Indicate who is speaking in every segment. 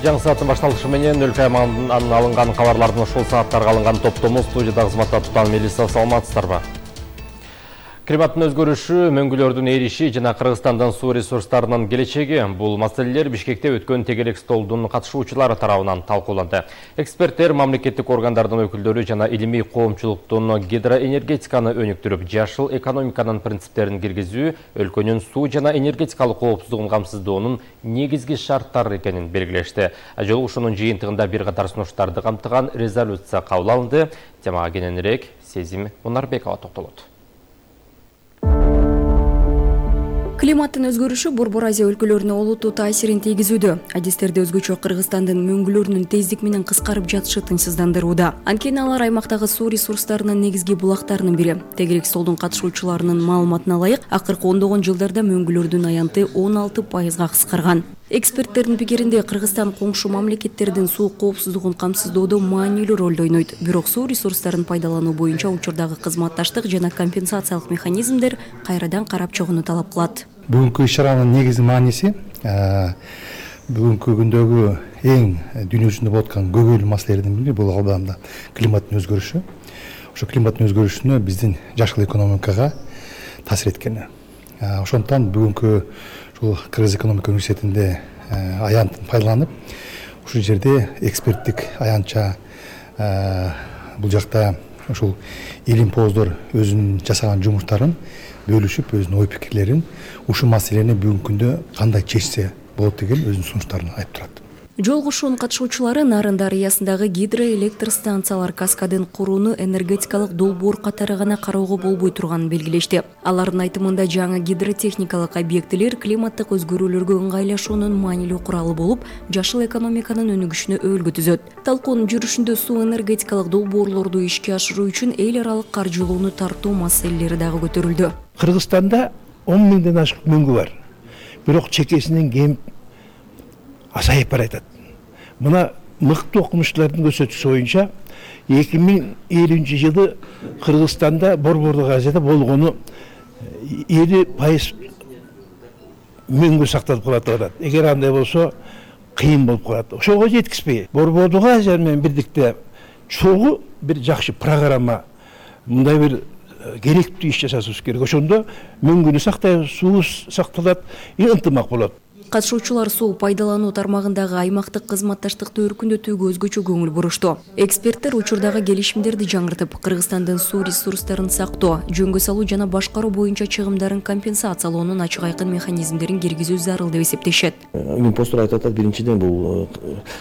Speaker 1: Жаңы сааттын башталышы менен өлкө аймагынан алынган кабарлардын ушул сааттарга алынган топтому студияда кызматта туткан Мелиса, саламатсыздарбы? Климаттын өзгөрүшү, мөңгүлөрдүн эриши жана Кыргызстандын суу ресурстарынын келечеги. Бул маселелер Бишкекте өткөн тегерек столдун катышуучулары тарабынан талкууланды. Эксперттер, мамлекеттик органдардын өкүлдөрү жана илимий коомчулуктун гидроэнергетиканы өнүктүрүп, жашыл экономиканын принциптерин киргизүү өлкөнүн суу жана энергетикалык коопсуздугун камсыздоонун негизги шарттары экенин белгилешти. Жолугушуунун жыйынтыгында бир катар сунуштарды камтыган резолюция кабыл алынды. Темага кененирээк Сезим Мунарбекова токтолот.
Speaker 2: Климаттын өзгөрүшү Борбор Азия өлкөлөрүнө олуттуу таасирин тийгизүүдө. Адистерде өзгөчө Кыргызстандын мөңгүлөрүнүн тездик менен кыскарып жатышы тынчсыздандырууда. Анткени алар аймактагы суу ресурстарынын негизги булактарынын бири. Тегерек столдун катышуучуларынын маалыматына ылайык, акыркы ондогон жылдарда мөңгүлөрдүн аянты 16%га кыскарган. Эксперттердин пикиринде Кыргызстан коңшу мамлекеттердин суу коопсуздугун камсыздоодо маанилүү ролду ойнойт. Бирок суу ресурстарын пайдалануу боюнча учурдагы кызматташтык жана компенсациялык механизмдер кайрадан карап чыгууну талап кылат.
Speaker 3: Бүгүнкү иш-чаранын негизги мааниси бүгүнкү күндөгү эң дүйнө жүзүндө болуп аткан көйгөйлүү маселелердин бири бул албанда климаттын өзгөрүшү. Ошо климаттын өзгөрүшүнө биздин жашыл экономикага таасир эткени. Ошондуктан бүгүнкү Кыргыз экономика университетинде аянтын пайдаланып, ушул жерде эксперттик аянтча бул жакта ушул илим-поздор өзүнүн жасаган жумуштарын бөлүшүп, өзүнүн ой пикирлерин ушул маселени бүгүнкү күндө кандай чечсе болот деген өзүнүн сунуштарын айтып турат.
Speaker 2: Жолугушуунун катышуучулары Нарын дарыясындагы гидроэлектр станциялар каскадын курууну энергетикалык долбоор катары гана кароого болбой турганын белгилешти. Алардын айтымында жаңы гидротехникалык объектилер климаттык өзгөрүүлөргө ыңгайлашуунун маанилүү куралы болуп, жашыл экономиканын өнүгүшүнө өөлгө түзөт. Талкуунун жүрүшүндө суу энергетикалык долбоорлорду ишке ашыруу үчүн эл аралык каржылоону тартуу маселелери дагы көтөрүлдү.
Speaker 4: Кыргызстанда 10 миңден ашык мөңгү бар. Бирок чекесинен кемип азайып баратат. Мына мыкты окумуштуулардын көрсөтүүсү боюнча 2050 жылы Кыргызстанда Борбордук Азияда болгону 50% мөңгү сакталып калат деп атат. Эгер андай болсо кыйын болуп калат. Ошого жеткизбей Борбордук Азия менен бирдикте чогуу бир жакшы программа, мындай бир керектүү иш жасашыбыз керек. Ошондо мөңгүнү сактайбыз, суу сакталат, ынтымак болот.
Speaker 2: Катышуучулар суу пайдалануу тармагындагы аймактык кызматташтыкты өркүндөтүүгө өзгөчө көңүл бурушту. Эксперттер учурдагы келишимдерди жаңыртып, Кыргызстандын суу ресурстарын сактоо, жөнгө салуу жана башкаруу боюнча чыгымдарын компенсациялоонун ачык айкын механизмдерин киргизүү зарыл деп эсептешет.
Speaker 5: Импостор айтып атат, биринчиден бул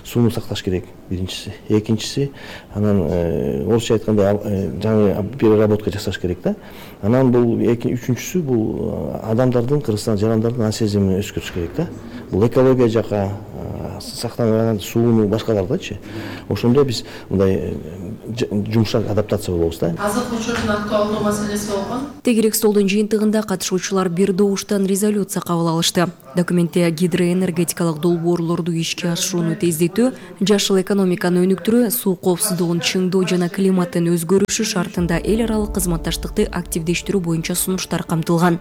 Speaker 5: сууну сакташ керек, биринчиси. Экинчиси, анан орусча айтканда жаңы переработка жасаш керек да. Анан бул үчүнчүсү бул адамдардын, Кыргызстан жарандардын ан сезимин өскөртүш керек да. Бул экология жака сактанган сууну башкалардачы. Ошондо биз мындай жумшак адаптация болобуз да.
Speaker 6: Азык учурдун актуалдуу маселеси болгон.
Speaker 2: Тегерек столдун жыйынтыгында катышуучулар бир добуштан резолюция кабыл алышты. Документте гидроэнергетикалык долбоорлорду ишке ашырууну тездетүү, жашыл экономиканы өнүктүрүү, суу коопсуздугун чыңдоо жана климаттын өзгөрүшү шартында эл аралык кызматташтыкты активдештирүү боюнча сунуштар камтылган.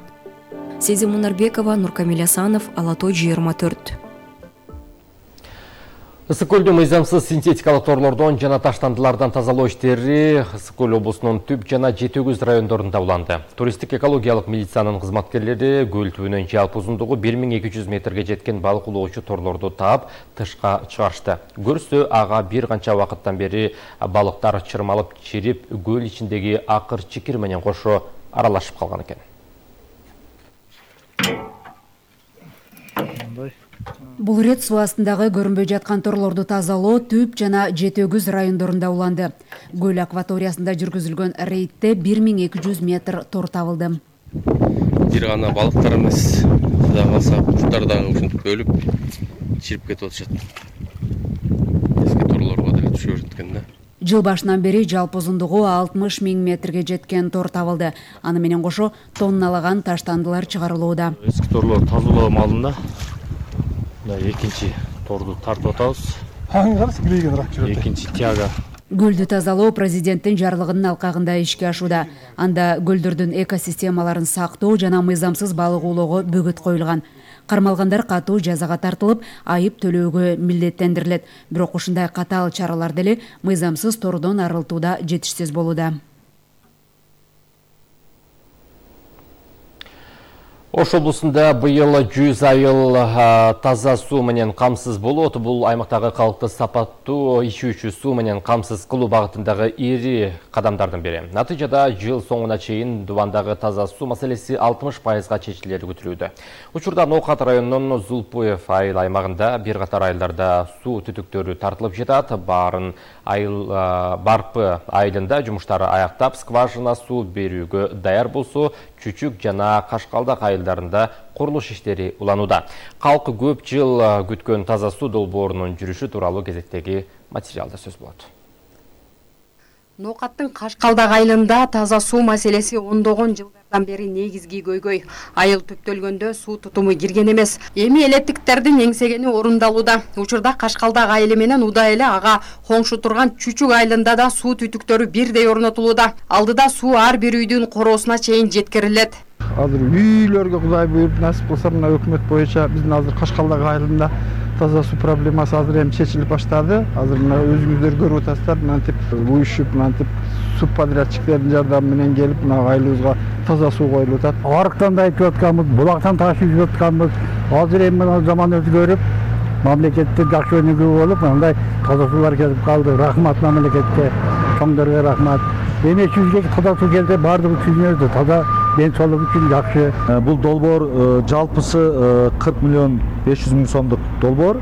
Speaker 2: Сезим Мунарбекова, Нуркамил Асанов, Ала Той 24.
Speaker 1: Ысык көлдү мыйзамсыз синтетикалык торлордон жана таштандылардан тазалоо иштери Ысык көл облусунун Түп жана Жетөгүз райондорунда уланды. Туристтик экологиялык милициянын кызматкерлери көл түбүнөн жалпы узундугу 1200 метрге жеткен балык улоочу торлорду таап тышка чыгарышты. Көрсө ага бир канча убакыттан бери балыктар чырмалып чирип, көл ичиндеги акыр чикир менен кошо аралашып калган экен.
Speaker 7: Бул рет суу астындагы көрүнбөй жаткан торлорду тазалоо Түп жана Жетөгүз райондорунда уланды. Көл акваториясында жүргүзүлгөн рейдте 1200 метр тор табылды.
Speaker 8: Бир гана балыктар эмес, кудай калса курттар дагы ушинтип бөлүп чирип кетип атышат. Эски торлорго деле түшүп жаткан да.
Speaker 7: Жыл башынан бери жалпы узундугу 60 000 метрге жеткен тор табылды. Аны менен кошо тонналаган таштандылар чыгарылууда.
Speaker 8: Эски торлор тазалоо маалында экинчи торду тартып атабыз. Экинчи тяга.
Speaker 7: Көлдү тазалоо президенттин жарлыгынын алкагында ишке ашууда. Анда көлдөрдүн экосистемаларын сактоо жана мыйзамсыз балык оолоого бөгөт коюлган. Кармалгандар катуу жазага тартылып, айып төлөөгө милдеттендирилет. Бирок ушундай катаал чаралар деле мыйзамсыз тордон арылтууда жетишсиз болууда.
Speaker 1: Ош облусунда быйыл 100 айыл таза суу менен камсыз болот. Бул аймактагы калкты сапаттуу ичүүчү суу менен камсыз кылуу багытындагы ири кадамдардын бири. Натыйжада жыл соңуна чейин Дубандагы таза суу маселеси 60%га чечилери күтүлүүдө. Учурда Ноокат районунун Зулпуев айыл аймагында бир катар айылдарда суу түтүктөрү тартылып жатат. Барпы айылында жумуштары аяктап, скважина суу берүүгө даяр болсо, Чүчүк жана Кашкалдак айылдарында курулуш иштери уланууда. Калк көп жыл күткөн таза суу долбоорунун жүрүшү тууралуу кезектеги материалда сөз болот.
Speaker 9: Ноокаттын Кашкалдак айылында таза суу маселеси ондогон жылдардан бери негизги көйгөй. Айыл түптөлгөндө суу тутуму кирген эмес. Эми электиктердин эңсегени орундалууда. Учурда Кашкалдак айылы менен удай эле ага коңшу турган Чүчүк айылында да суу түтүктөрү бирдей орнотулууда. Алдыда суу ар бир үйдүн короосуна чейин жеткирилет.
Speaker 10: Азыр үйлөргө Кудай буйруп насип кылса, мына өкмөт боюнча биздин азыр Кашкалдак айылында таза суу проблемасы азыр эми чечилип баштады. Азыр мына өзүңүздөр көрүп атасыздар, мынтип уюшуп, мынтип субподрядчиктердин жардамы менен келип, мына айылыбызга таза суу коюлуп атат.
Speaker 11: Арыктан да ичип атканбыз, булактан ташып ичип атканбыз. Азыр эми мына заман өзгөрүп, мамлекетте жакшы өнүгүү болуп, мындай таза суулар келип калды. Рахмат мамлекетке, чоңдорго рахмат. Эми чүзгө таза суу келсе баардыгы түшүнөдү. Таза ден соолук үчүн жакшы.
Speaker 12: Бул долбоор жалпысы 40 миллион 500 миң сомдук долбоор.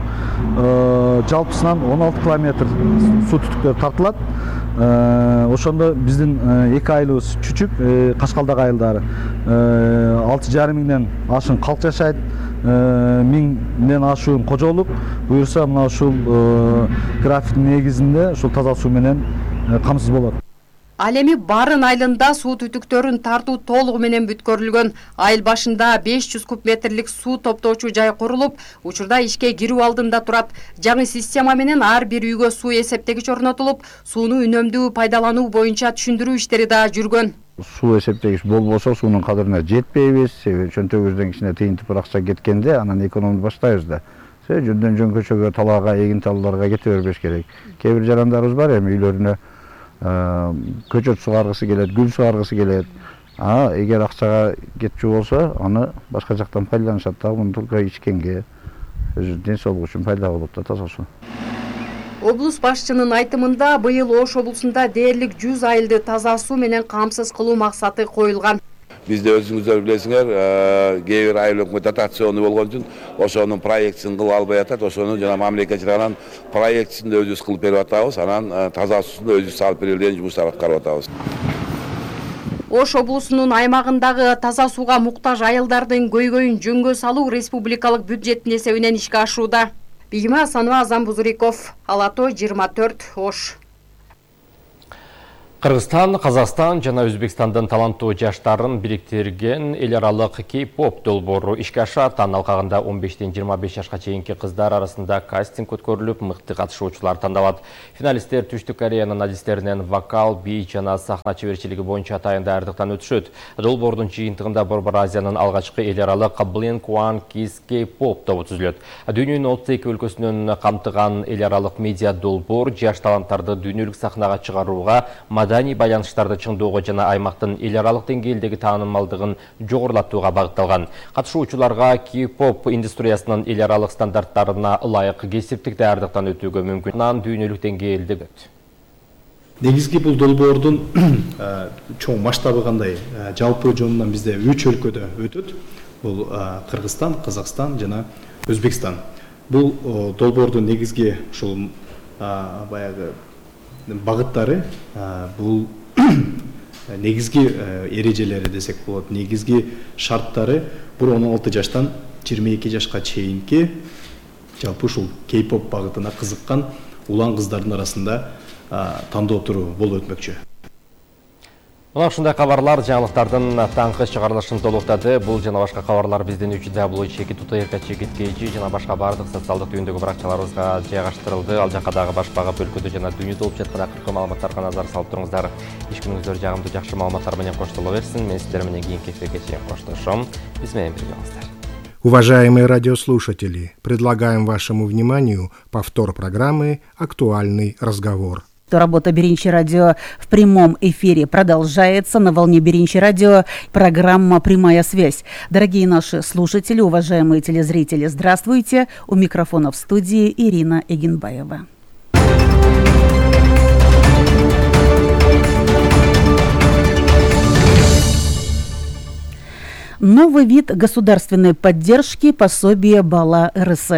Speaker 12: Жалпысынан 16 километр суу түтүктөр тартылат. Ошондо биздин эки айылыбыз Чүчүк, Кашкалдак айылдары 6,5 миңден ашык калк жашайт. 1000ден ашуун кожолук. Буюрса мына ушул графиктин негизинде ушул таза суу менен камсыз болот.
Speaker 9: Ал эми Барын айылында суу түтүктөрүн тартуу толугу менен бүткөрүлгөн. Айыл башында 500 куб метрлик суу топтоочу жай курулуп, учурда ишке кирүү алдында турат. Жаңы система менен ар бир үйгө суу эсептегич орнотулуп, сууну үнөмдүү пайдалануу боюнча түшүндүрүү иштери да жүргөн.
Speaker 10: Суу эсептегич болбосо суунун кадырына жетпейбиз. Себеби чөнтөгүбүздөн кичине тыйын тыпыр акча кеткенде анан экономду баштайбыз да. Жөндөн жөн көчөгө, талаага, эгин талууларга кете бербеш керек. Кээ бир жарандарыбыз бар эми үйлөрүнө көчөт сугаргысы келет, гүл сугаргысы келет. Эгер акчага кетчү болсо, аны башка жактан пайдаланышат да, муну только ичкенге, өзү ден соолук үчүн пайда болот да таза суу.
Speaker 9: Облус башчынын айтымында быйыл Ош облусунда дээрлик 100 айылды таза суу менен камсыз кылуу максаты коюлган.
Speaker 13: Бизде өзүңүздөр билесиңер, кээ бир айыл өкмөт дотациону болгон үчүн ошонун проектисин кылып албай атат. Ошону жана мамлекет жагынан проектисин да өзүбүз кылып берип атабыз. Анан таза суусун да өзүбүз салып берилген жумуштарды аткарып атабыз.
Speaker 9: Ош облусунун аймагындагы таза сууга муктаж айылдардын көйгөйүн жөнгө салуу республикалык бюджеттин эсебинен ишке ашууда. Бийима Асанова, Азам Бузуриков, Алато 24, Ош.
Speaker 1: Кыргызстан, Казакстан жана Өзбекстандын таланттуу жаштарын бириктирген эл аралык K-pop долбоору ишке ашат. Анын алкагында 15-25 жашка чейинки кыздар арасында кастинг өткөрүлүп, мыкты катышуучулар тандалат. Финалисттер Түштүк Кореянын адистеринен вокал, бий жана сахна чеберчилиги боюнча атайын даярдыктан өтүшөт. Долбоордун жыйынтыгында Борбор Азиянын алгачкы эл аралык Blink-1 Kiss K-pop тобу түзүлөт. Дүйнөнүн 32 өлкөсүнөн камтыган эл аралык медиа долбоор жаш таланттарды дүйнөлүк сахнага чыгарууга, маданий байланыштарды чыңдоого жана аймактын эл аралык деңгээлдеги таанымалдыгын жогорулатууга багытталган. Катышуучуларга K-pop индустриясынын эл аралык стандарттарына ылайык кесиптик даярдыктан өтүүгө мүмкүн. Дүйнөлүк деңгээлде
Speaker 14: негизги бул долбоордун чоң масштабы кандай? Жалпы жонунан бизде 3 өлкөдө өтөт. Бул Кыргызстан, Казакстан жана Өзбекстан. Бул долбоордун негизги ушул баягы багыттары, бул негизги эрежелери десек болот, негизги шарттары бул 16 жаштан 22 жашка чейинки жалпы ушул K-pop багытына кызыккан улан кыздардын арасында тандоо туруу болуп өтмөкчү.
Speaker 1: Мына ушундай кабарлар жаңылыктардын таңкы чыгарылышын толуктады. Бул жана башка кабарлар биздин www.chekit.kg жана башка бардык социалдык түйүндөгү баракчаларыбызга жайгаштырылды. Ал жакка дагы баш багып өлкөдө жана дүйнөдө болуп жаткан акыркы маалыматтарга назар салып туруңуздар. Иш күнүңүздөр жагымдуу жакшы маалыматтар менен коштоло берсин. Мен сиздер менен кийинки эфирге чейин коштошом. Биз менен бирге болуңуздар.
Speaker 15: Уважаемые радиослушатели, предлагаем вашему вниманию повтор программы «Актуальный разговор».
Speaker 16: Работа Беринчи радио в прямом эфире продолжается. На волне Беринчи радио программа «Прямая связь». Дорогие наши слушатели, уважаемые телезрители, здравствуйте. У микрофона в студии Ирина Эгенбаева. Новый вид государственной поддержки – пособие Бала РС.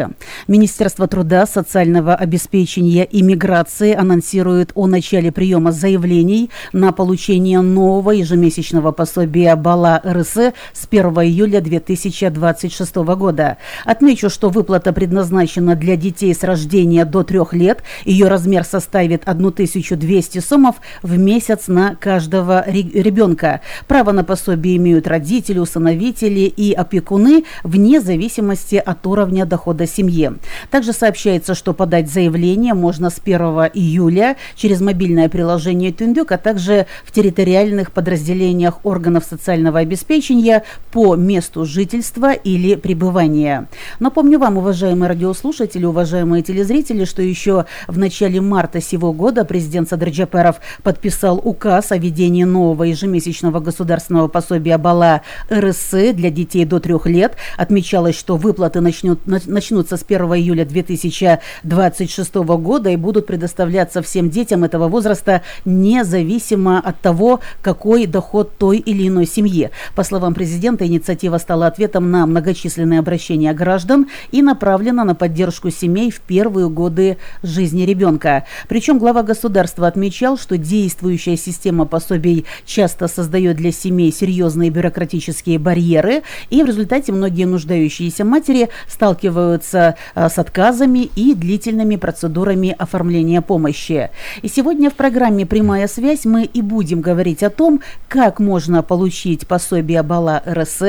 Speaker 16: Министерство труда, социального обеспечения и миграции анонсирует о начале приема заявлений на получение нового ежемесячного пособия Бала РС с 1 июля 2026 года. Отмечу, что выплата предназначена для детей с рождения до 3 лет. Ее размер составит 1200 сомов в месяц на каждого ребенка. Право на пособие имеют родители, усыновители и опекуны вне зависимости от уровня дохода семьи. Также сообщается, что подать заявление можно с 1 июля через мобильное приложение Түндүк, а также в территориальных подразделениях органов социального обеспечения по месту жительства или пребывания. Напомню вам, уважаемые радиослушатели, уважаемые телезрители, что еще в начале марта сего года президент Садыр Джапаров подписал указ о введении нового ежемесячного государственного пособия Бала РС для детей до 3 лет. Отмечалось, что выплаты начнутся с 1 июля 2026 года и будут предоставляться всем детям этого возраста независимо от того, какой доход той или иной семьи. По словам президента, инициатива стала ответом на многочисленные обращения граждан и направлена на поддержку семей в первые годы жизни ребенка. Причем глава государства отмечал, что действующая система пособий часто создает для семей серьезные бюрократические барьеры, и в результате многие нуждающиеся матери сталкиваются с отказами и длительными процедурами оформления помощи. И сегодня в программе «Прямая связь» мы и будем говорить о том, как можно получить пособие Бала РС,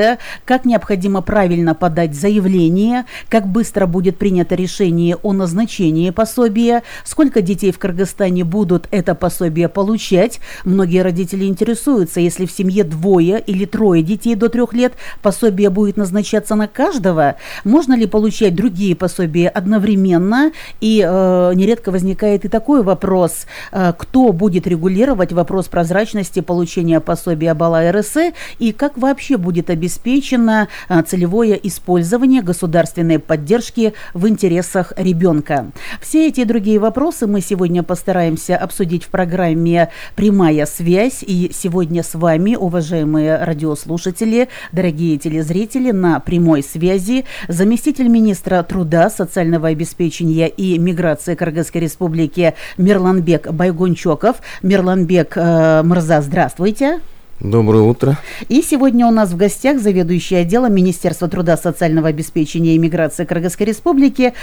Speaker 16: как необходимо правильно подать заявление, как быстро будет принято решение о назначении пособия, сколько детей в Кыргызстане будут это пособие получать. Многие родители интересуются, если в семье 2 или 3 детей до 3 лет, пособие будет назначаться на каждого. Можно ли получать другие пособия одновременно? И нередко возникает и такой вопрос, кто будет регулировать вопрос прозрачности получения пособия Бала РС и как вообще будет обеспечено целевое использование государственной поддержки в интересах ребенка. Все эти и другие вопросы мы сегодня постараемся обсудить в программе «Прямая связь». И сегодня с вами, уважаемые радиослушатели, дорогие телезрители, на прямой связи заместитель министра труда, социального обеспечения и миграции Кыргызской республики Мирланбек Байгончоков. Мирланбек Мырза, здравствуйте.
Speaker 8: Доброе утро.
Speaker 16: И сегодня у нас в гостях заведующий отделом Министерства труда, социального обеспечения и миграции Кыргызской республики